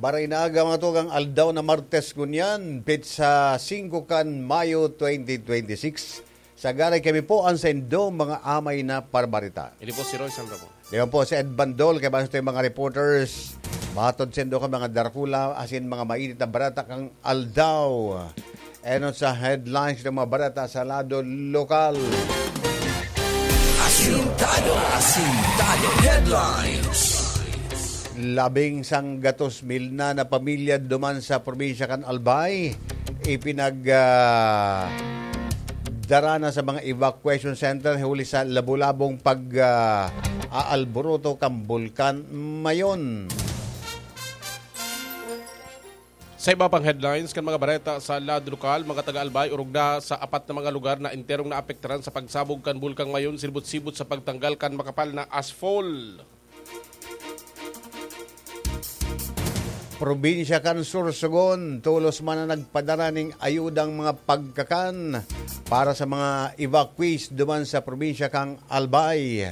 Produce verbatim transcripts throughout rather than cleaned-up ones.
Maray na aga, mga tugang, aldaw na Martes ngunyan, petsa singko kan Mayo twenty twenty-six. Sagaray kami po an saindo mga amay na parbarita. Ini po si Roy San Ramon. Di ba po si Ed Bandol, kaya basta yung mga reporters, matod saindo ka mga darakula, asin mga mainit na barata kang aldaw. Enon sa headlines ng mga barata sa lado lokal. Asintado, asintado headlines. Labing sanggatos mil na na pamilya duman sa probinsya kan Albay, ipinag, ah, dara na sa mga evacuation center huli sa labo-labong pag, ah, aalburuto kan Bulkan Mayon. Sa iba pang headlines kan mga bareta sa lado lokal, mga taga Albay, orog na sa apat na mga lugar na enterong naapektaran sa pagsabog kan Bulkang Mayon, sibot-sibot sa pagtanggal kan makapal na asphalt. Probinsya kan Sorsogon, tolos man na nagpadara ning ayudang mga pagkakan para sa mga evacuees duman sa probinsya kan Albay.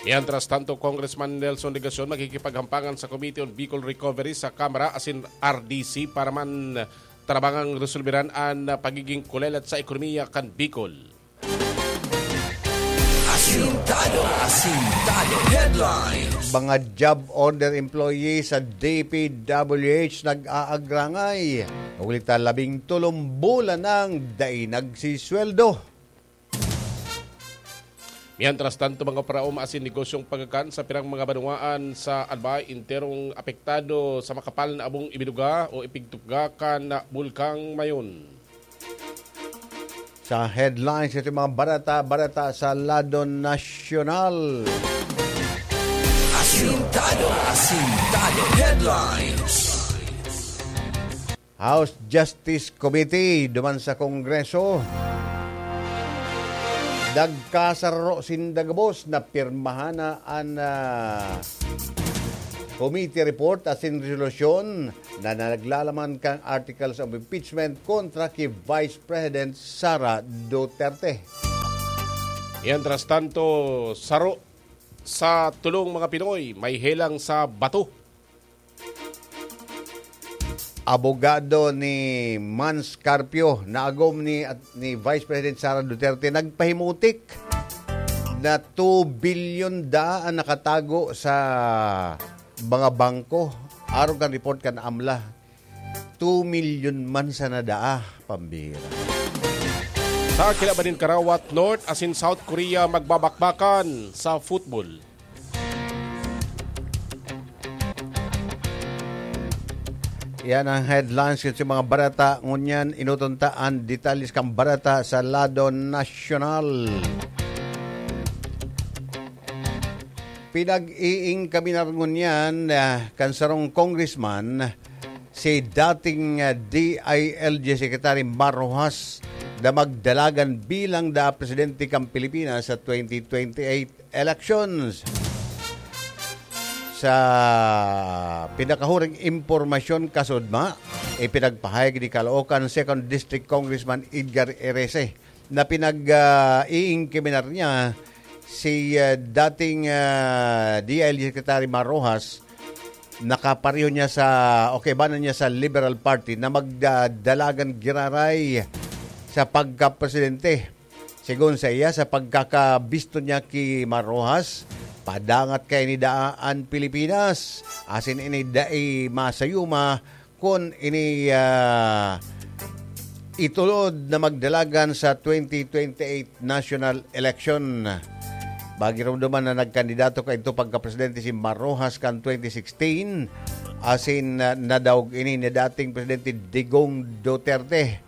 Mientras tanto, Congressman Nelson Legacion makikipaghampangan sa Committee on Bicol Recovery sa Kamara asin R D C para man tarabangang resolberan an pagiging kulelat sa ekonomiya kan Bicol. Asintado, asintado headlines. Mga job order employee sa D P W H nag-aagrangay. Huli ta labing tolong bulan nang dai nagsisweldo. Mientras tanto, mga paraoma asin negosyong pagkakan sa pirang mga banwaan sa Albay enterong apektado sa makapal na abong ibinuga o ipigtuga kan Bulkang Mayon. Sa headlines, ito yung mga barata-barata sa lado nasyonal. Asintado, asintado headlines. House Justice Committee duman sa Kongreso. Nagkasararo sinda gabos na pirmahan na an, ah, committee report asin resolusyon na naglalaman kan articles of impeachment kontra ki Vice President Sara Duterte. Mientras tanto, saro sa tulong mga Pinoy may helang sa bato. Abogado ni Mans Carpio, naagom ni, ni Vice President Sara Duterte, nagpahimutik na two billion daa an nakatago sa mga bangko. Arog kan report kan amla, two million man sana daa, pambira. Sa kinaban nin Karawat, North asin South Korea magbabakbakan sa football. Yan ang headlines kan mga barata. Ngunyan, inuton ta an detalles kan barata sa lado nasyonal. Pinag-iingkaminar ngunyan, ah, kan sarong congressman, si dating, ah, D I L G Secretary Mar Roxas na magdalagan bilang da presidente kan Pilipinas sa twenty twenty-eight elections. Sa pinakahuring impormasyon kasudma, ipinagpahayag ni Caloocan Second District Congressman Edgar Erese na pinag, ah, iingkiminar niya si, ah, dating, ah, D I L G Secretary Mar Roxas, nakapareho niya sa, o kaibanan niya sa Liberal Party na magdadalagan giraray sa pagkapresidente. Sigon sa iya, sa pagkakabisto niya ki Mar Roxas, padangat kaini daa an Pilipinas. Asin ini dai masayuma kun ini, ah, itulod na magdalagan sa twenty twenty-eight national election. Magiromdoman na nagkandidato kaidto pagkapresidente si Mar Roxas kan twenty sixteen, asin, ah, nadaog ini ni dating Presidente Digong Duterte.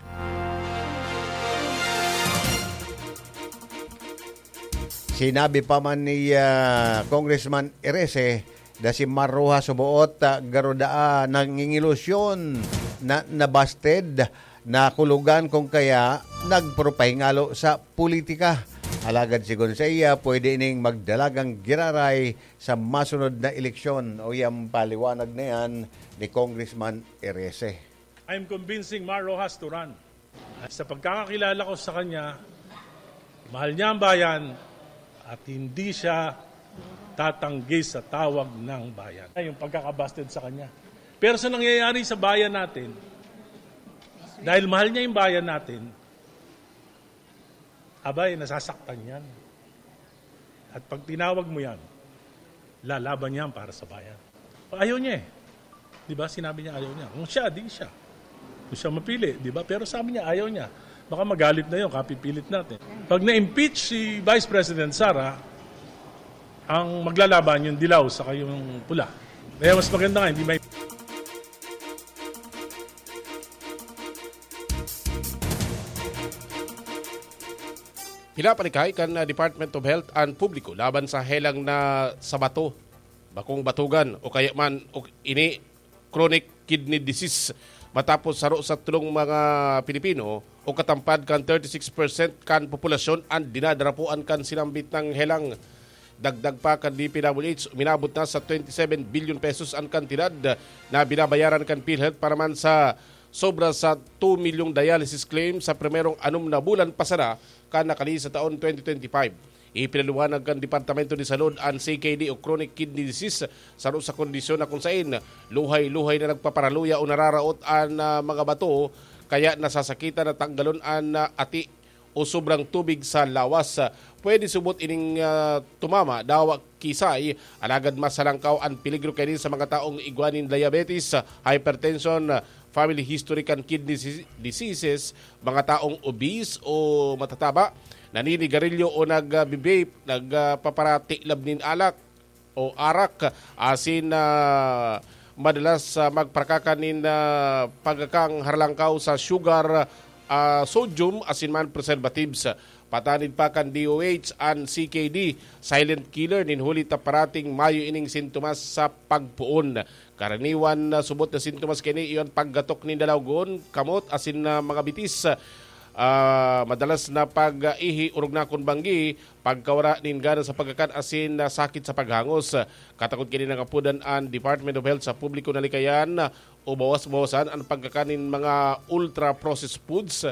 Sinabi pa man ni, ah, Congressman Erese na si Mar Roxas suboot, ah, garo daa nangingilusyon na nabasted, nakulugan kung kaya nagpurupahingalo sa politika. Alagad sigon sa iya, pwede ining magdalagang giraray sa masunod na eleksyon. O yang paliwanag na yan ni Congressman Erese. I am convincing Mar Roxas to run. At sa pagkakakilala ko sa kanya, mahal niya ang bayan at hindi siya tatanggi sa tawag ng bayan. Yung pagkakabasted sa kanya, Pero sa nangyayari sa bayan natin, dahil mahal niya yung bayan natin, abay, nasasaktan yan. At pag tinawag mo yan, lalaban yan para sa bayan. Ayaw niya eh. Di ba? Sinabi niya ayaw niya. Kung siya, di siya. Kung siya mapili, di ba? Pero sabi niya ayaw niya. Baka magalit na yun, kapipilit natin. Pag na-impeach si Vice President Sara, ang maglalaban yung dilaw sa kayong pula. Kaya mas maganda nga, hindi may Pinapanikay kan ah, Department of Health an publiko laban sa helang na sa bato, bakong batugan o kaya man o ini chronic kidney disease matapos saro sa tulong mga Pilipino o katampad kan thirty-six percent kan populasyon an dinadarapuan kan sinambit nang helang. Dagdag pa kan D P W H, uminabot na sa twenty-seven billion pesos an kantidad na binabayaran kan PhilHealth para man sa sobra sa two milyong dialysis claim sa primerong anom na bulan pasada kan nakalihis sa taon twenty twenty-five. Ipinaliwanag kan Departamento de Salud an C K D o chronic kidney disease, saro sa kondisyon na kung sain luhay-luhay na nagpaparaluya o nararaot an ah, mga bato, kaya nasasakitan na tanggalon an ah, ati o sobrang tubig sa lawas. Pwede subot ining ah, tumama, dawa kisay, alagad mas halangkaw an peligro kaini sa mga taong igwa nin diabetes, hypertension, family history kan kidney dis- diseases, mga taong obese o matataba, naninigarilyo o nagbibape, nagpaparatiklab nin alak o arak, asin ah, madalas ah, magprakaka nin ah, pagkakang harlangkaw sa sugar, ah, sodium, asin man preservatives. Patanid pa kan D O H an C K D, silent killer nin huli ta parating mayo ining sintomas sa pagpoon. Karaniwan na subot na sintomas kini iyon paggatok nin dalawgon, kamot asin na mga bitis. Ah, madalas na pag-ihi, orog na kun banggi, pagkawara nin gana sa pagkakan asin na sakit sa paghangos. Katakod kini nangapodan an Department of Health sa publiko na likayan o bawas-bawasan an pagkakan nin mga ultra-processed foods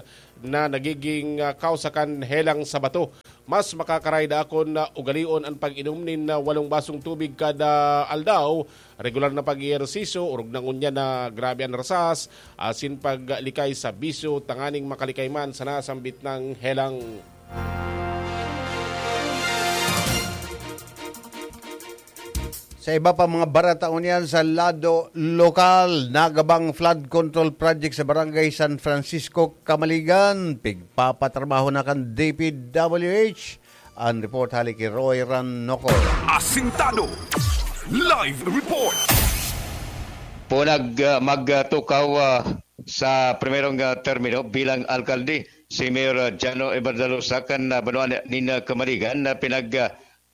na nagiging ah, kausa kan helang sa bato. Mas makakaray daakon na ugalion an pag-inom nin ah, walong basong tubig kada aldaw, regular na pag-ehersisyo, orog na ngunyan na grabe an rasas, asin paglikay sa bisyo tanganing makalikay man sa nasambit nang helang. Sa iba pa mga barata ngunyan sa lado lokal, nagabang flood control project sa Barangay San Francisco, Camaligan, pigpapatrabaho na kan D P W H. An report hali ki Roy Ranocor. Asintado. Live report. Punag ah, magtukaw ah, sa primerong ah, termino bilang alkalde si Mayor ah, Jano Everdalosa kan ah, banwaan nin ah, Kamaligan na pinag ah,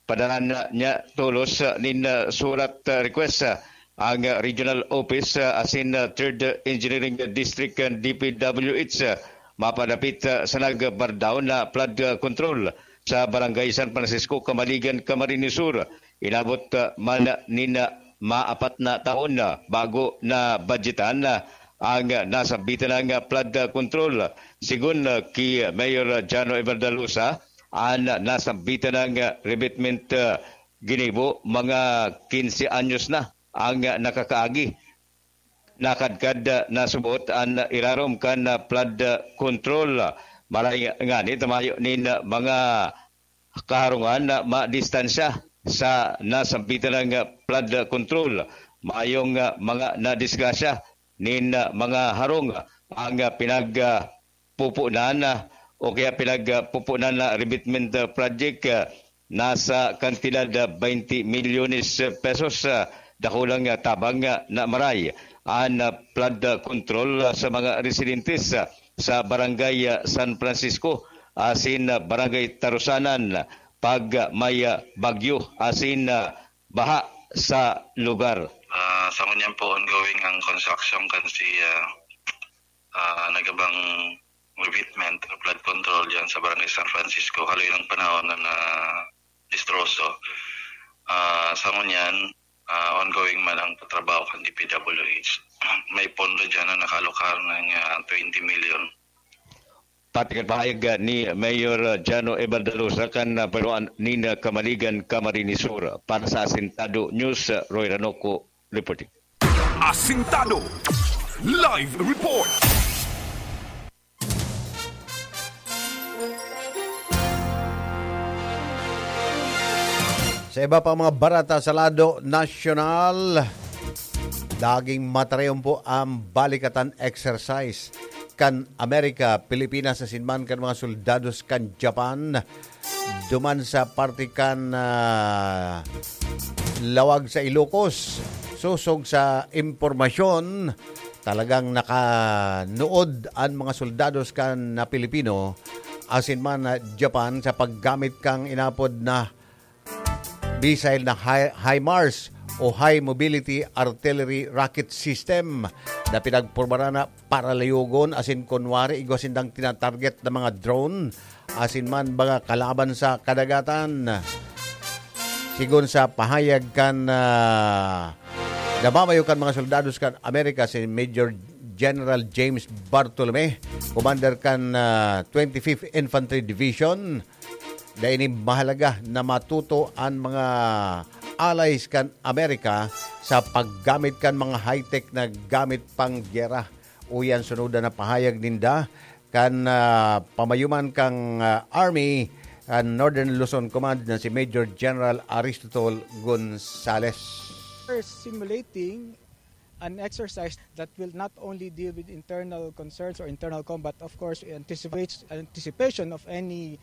padalan niya tolos ah, nin ah, surat ah, request ah, ang ah, regional office ah, asin ah, third ah, engineering district kan D P W H ah, mapadapit ah, sa nagbardaw na flood ah, control sa Barangay San Francisco, Kamaligan, Camarines Sur. Inabot ah, man nin ah, maapat na taon na bago na budgetan na ang ah, nasambitan ng ah, flood ah, control. Sigon ah, ki Mayor Jano Everdalosa, an nasambitan ng ah, revetment ah, ginibo mga quince anyos na ang ah, nakakaagi. Nakadkad ah, na subot an irarom kan ah, flood ah, control. Maray ngani ta mayo nin ah, mga kaharungan na madistansya sa nasambitan ng ah, flood control. Mayong ah, mga nadisgrasya nin ah, mga harong ang ah, pinag ah, pupunan ah, o kaya pinagpupunan na revetment ah, project ah, nasa kantidad ah, twenty milyones pesos. Ah, dakulang ah, tabang ah, na maray an ah, flood ah, control ah, sa mga residentes ah, sa Barangay ah, San Francisco asin ah, Barangay Tarusanan pag ah, may ah, bagyo asin ah, baha sa lugar. Ah, sa ngunyan po, ongoing ang construction kan si ah, ah, nagabang revetment o flood control diyan sa Barangay San Francisco. Haloy ng panahon na na distroso. Ah, sa ngunyan, ah, ongoing man ang patrabaho kan D P W H. May pondo diyan na nakaalokar ng ah, twenty million. Pati kan pahayag ni Mayor Jano Everdalosa kan ah, Banwaan nin Kamaligan, Camarines Sur. Para sa Asintado News, Roy Ranoco reporting. Asintado Live Report. Sa iba pang mga bareta sa lado nasyonal, daging matarayon po ang balikatan exercise kan Amerika, Pilipinas asin man kan mga soldados kan Japan duman sa parte kan, ah, lawag sa Ilocos. Sosog sa impormasyon, talagang nakanuod an mga soldados kan na Pilipino asin man na Japan sa paggamit kan inapod na missile na Hi-, HIMARS o High Mobility Artillery Rocket System na pinagpormaran na para layogon asin kunwari igwa sindang tinatarget na mga drone asin man mga kalaban sa kadagatan. Sigon sa pahayag kan, ah, namamayo kan mga soldados kan Amerika, si Major General James Bartolome, commander kan, ah, twenty-fifth Infantry Division, dai ini mahalaga na matuto an mga allies kan Amerika sa paggamit kan mga high-tech na gamit pang gyera. Uyan, sunod na pahayag ninda kan, ah, pamayuman kan, ah, Army, ah, Northern Luzon Command na si Major General Aristotol Gonzales. We're simulating an exercise that will not only deal with internal concerns or internal combat, of course, anticipate anticipation of any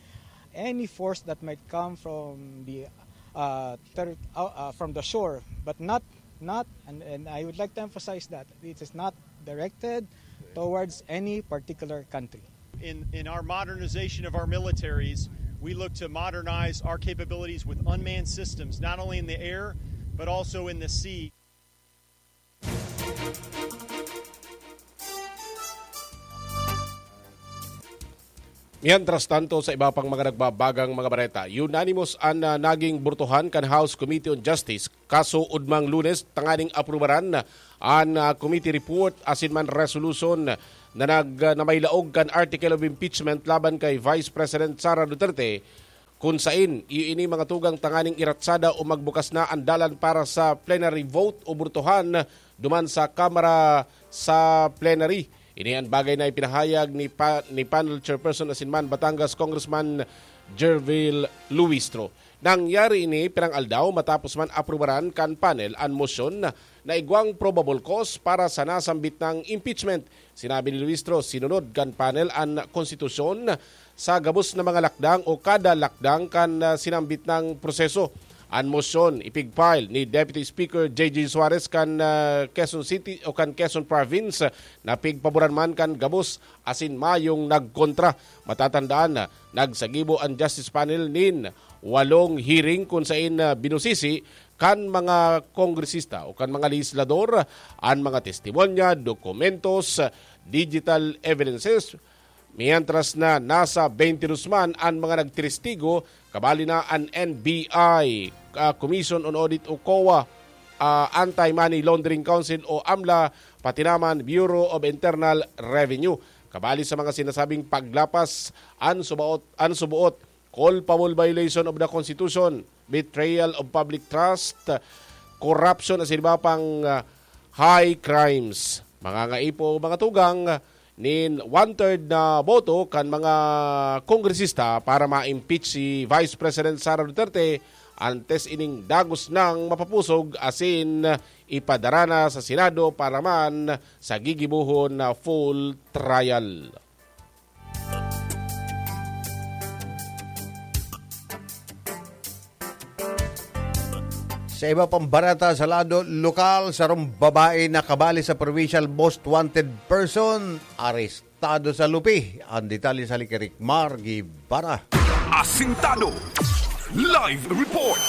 any force that might come from the uh, ter- uh, uh, from the shore, but not not and, and I would like to emphasize that it is not directed towards any particular country. In, in our modernization of our militaries, we look to modernize our capabilities with unmanned systems, not only in the air, but also in the sea. Mientras tanto, sa iba pang mga nagbabagang mga bareta, unanimous an ah, naging burtohan kan House Committee on Justice kaso ugmang Lunes tanganing aprubaran an ah, committee report asin man resolution na nag ah, na may laog kan article of impeachment laban kay Vice President Sara Duterte, kun sain iyo ini mga tugang tanganing iratsada o magbukas na an dalan para sa plenary vote o burtohan duman sa Kamara sa plenary. Ini an bagay na ipinahayag ni, pa, ni panel chairperson asin man Batangas Congressman Gervil Luistro. Nangyari ini pirang aldaw matapos man aprubaran kan panel an mosyon na igwang probable cause para sa nasambit nang impeachment. Sinabi ni Luistro, sinunod kan panel an konstitusyon sa gabos na mga lakdang o kada lakdang kan ah, sinambit nang proseso. An mosyon ipigfile ni Deputy Speaker J J Suarez kan ah, Quezon City o kan Quezon Province na pigpaboran man kan gabos asin mayong nagkontra. Matatandaan na nagsagibo an Justice Panel nin walong hearing kun sain ah, binusisi kan mga kongresista o kan mga lehislador an mga testimonya, dokumentos, digital evidences, mientras na nasa twenty-two man an mga nagtestigo, kabali na an N B I, ah, Commission on Audit o COA, ah, Anti-Money Laundering Council o amla, pati naman Bureau of Internal Revenue. Kabali sa mga sinasabing paglapas an subaot, an subuot, culpable violation of the Constitution, betrayal of public trust, corruption asin iba pang ah, high crimes. Mga ngaipo, mga tugang, nin one-third na boto kan mga kongresista para ma-impeach si Vice President Sara Duterte antes ining dagos nang mapapusog asin ipadara na sa Senado para man sa gigibohon na full trial. Sa iba pang bareta sa lado lokal, sarong babae na kabali sa provincial most wanted person, arestado sa Lupi. Ang detalye sa Likirik, Mar Guevara. Asintado Live Report.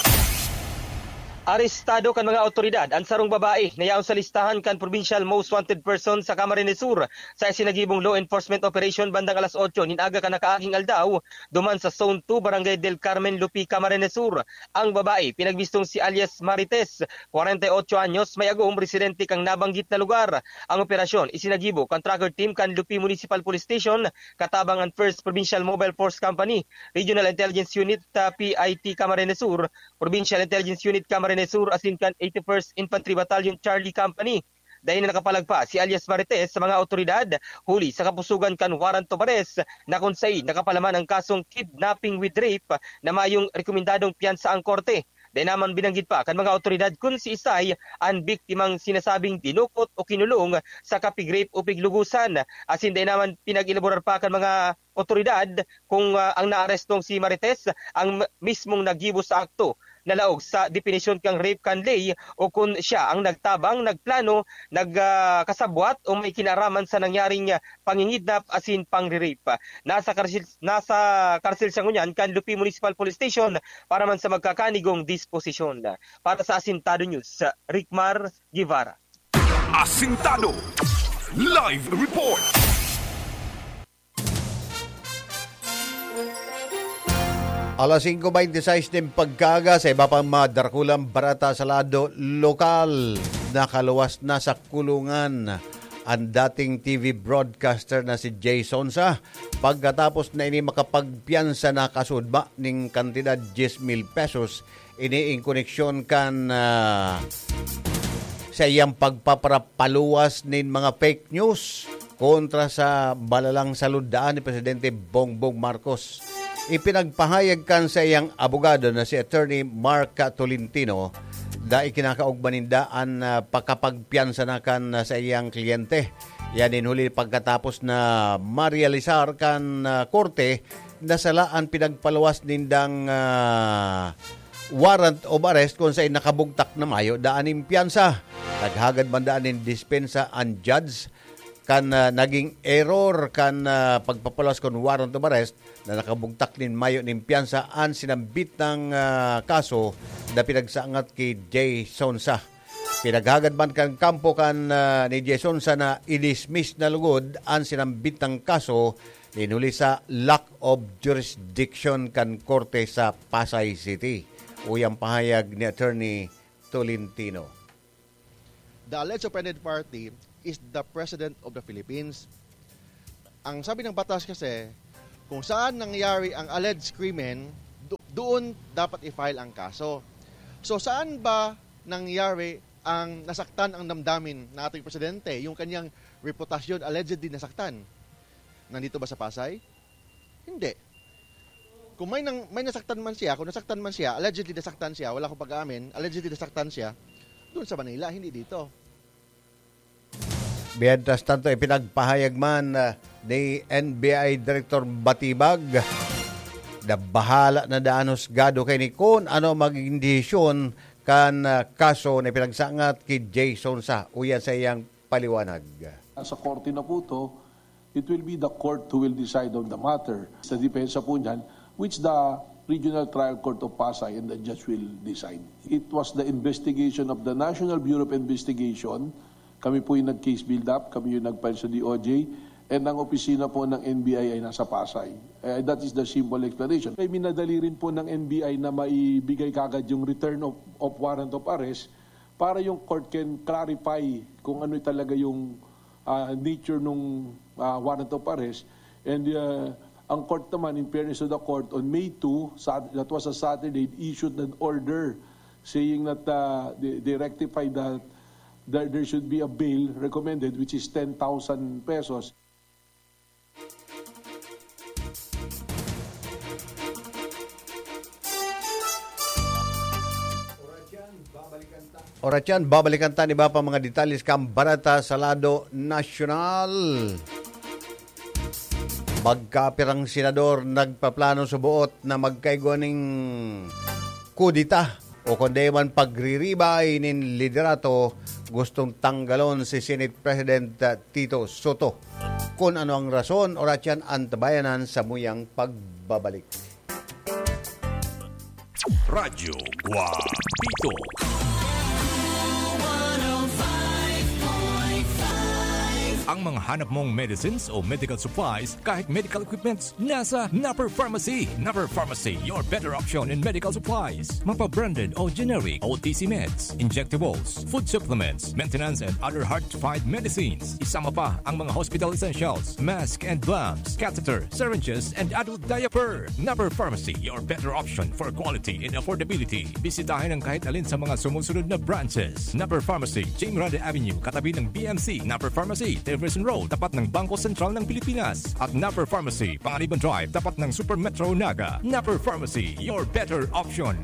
Arestado kan mga awtoridad an sarong babae na yaon sa listahan kan Provincial Most Wanted Person sa Camarines Sur sa isinagibong law enforcement operation bandang alas otso nin aga kan nakaaging aldaw duman sa Zone two, Barangay Del Carmen, Lupi, Camarines Sur. Ang babae, pinagbistong si alias Marites, kwarenta y otso anyos, may agom, residente kan nabanggit na lugar. Ang operasyon isinagibo kan tracker team kan Lupi Municipal Police Station katabang an First Provincial Mobile Force Company, Regional Intelligence Unit, ah, P I T Camarines Sur, Provincial Intelligence Unit Camarines Sur asin kan eighty-first Infantry Battalion Charlie Company. Dai na nakapalagpas si alias Marites sa mga awtoridad, huli sa kapusugan kan warrant of arrest na kun sain nakapalaman ang kasong kidnapping with rape na mayong rekomendadong piyansa ang korte. Dai naman binanggit pa kan mga awtoridad kun siisay an biktimang sinasabing dinukot o kinulong sa kapig-rape o piglugusan. Asin dai naman pinag-elaborar pa kan mga awtoridad kung, ah, ang naarestong si Marites ang m-, mismong naggibo sa akto na laog sa definisyon kan rape kan ley o kun siya ang nagtabang, nagplano, nag, ah, kasabwat o may kinaaraman sa nangyaring, ah, pangingidnap asin pangre-rape. Nasa karsil-, nasa karsil siya ngunyan kan Lupi Municipal Police Station para man sa magkakanigong disposisyon. Para sa Asintado News, Ricmar Guevara. Asintado Live Report. Alas singko bente sais nin pagkaaga, sa iba pang mga darakulang bareta sa lado lokal, nakaluwas na sa kulungan an dating T V broadcaster na si Jay Sonsa, pagkatapos na ini makapagpiyansa na kasudma ning kantidad diyes mil pesos. Ini in koneksyon kan, ah, sa iyang pagpaparapaluwas nin mga fake news kontra sa balalang salud daan ni Presidente Bongbong Marcos. Ipinagpahayag kan sa iyang abogado na si Attorney Mark Tolentino na ikinakaogma ninda an, ah, pakapagpiyansa na kan, ah, sa iyang kliyente. Yan in huli pagkatapos na marealisar kan, ah, korte na sala an pinagpaluwas nindang, ah, warrant of arrest kun saen nakabugtak na mayo daan nin piyansa. Naghagad man daan nin dispensa an judge kan, ah, naging error kan, ah, pagpapaluwas kun warrant of arrest na nakabugtak nin mayo nin piyansa an sinambit nang, ah, kaso na pinagsangat ki Jay Sonsa. Pinaghagad man kan kampo kan, ah, ni Jay Sonsa na i-dismiss na lugod an sinambit nang kaso nin huli sa lack of jurisdiction kan korte sa Pasay City. Uya an pahayag ni Attorney Tolentino. The alleged offended party is the President of the Philippines. Ang sabi ng batas kasi, kung saan nangyari ang alleged krimen, do-, doon dapat i-file ang kaso. So, saan ba nangyari ang nasaktan ang damdamin ng ating presidente? Yung kanyang reputasyon allegedly nasaktan. Nandito ba sa Pasay? Hindi. Kung may nang-, may nasaktan man siya, kung nasaktan man siya, allegedly nasaktan siya, wala akong pag-aamin, allegedly nasaktan siya, doon sa Manila, hindi dito. Mientras tanto, ipinagpahayag man, ah, ni N B I Director Batibag na bahala na daan husgado kaini kun ano magigin desisyon kan, ah, kaso na ipinagsangat ki Jay Sonsa. Uya sa iyang paliwanag. Sa korte na po to, it will be the court who will decide on the matter. Sa depensa po niyan, which the Regional Trial Court of Pasay and the judge will decide. It was the investigation of the National Bureau of Investigation. Kami po yung nag-case build-up, kami yung nag-file sa D O J, and ang opisina po ng N B I ay nasa Pasay. Eh, that is the simple explanation. Kaya minadali rin po ng N B I na maibigay kagad yung return of, of warrant of arrest para yung court can clarify kung ano talaga yung, ah, nature nung, ah, warrant of arrest. And, ah, ang court naman, in fairness to the court, on May two, Sat-, that was a Saturday, it issued an order saying that, ah, they, they rectified that there, there should be a bail recommended, which is ten thousand pesos. Oras yan, babalikan ta ni Bapa mga detalye kan bareta sa lado nasyonal. Magkapirang senador nagpaplano sa buot na magkaigwa ning kudeta o kundi man pagriribay nin liderato, gustong tanggalon si Senate President, ah, Tito Soto. Kun ano ang rason, oras yan, antabayanan sa muyang pagbabalik. Radyo Guapito. Ang mga hanap mong medicines o medical supplies, kahit medical equipments, nasa Napper Pharmacy. Napper Pharmacy, your better option in medical supplies. Mapa-branded o generic, O T C meds, injectables, food supplements, maintenance and other hard-to-find medicines. Isama pa ang mga hospital essentials, mask and gloves, catheter, syringes, and adult diaper. Napper Pharmacy, your better option for quality and affordability. Bisitahin ang kahit alin sa mga sumusunod na branches. Napper Pharmacy, Jim Rande Avenue, katabi ng B M C. Napper Pharmacy, Jefferson Road, tapat ng Bangko Sentral ng Pilipinas. At Napper Pharmacy, Panganiban Drive, tapat ng Super Metro Naga. Napper Pharmacy, your better option.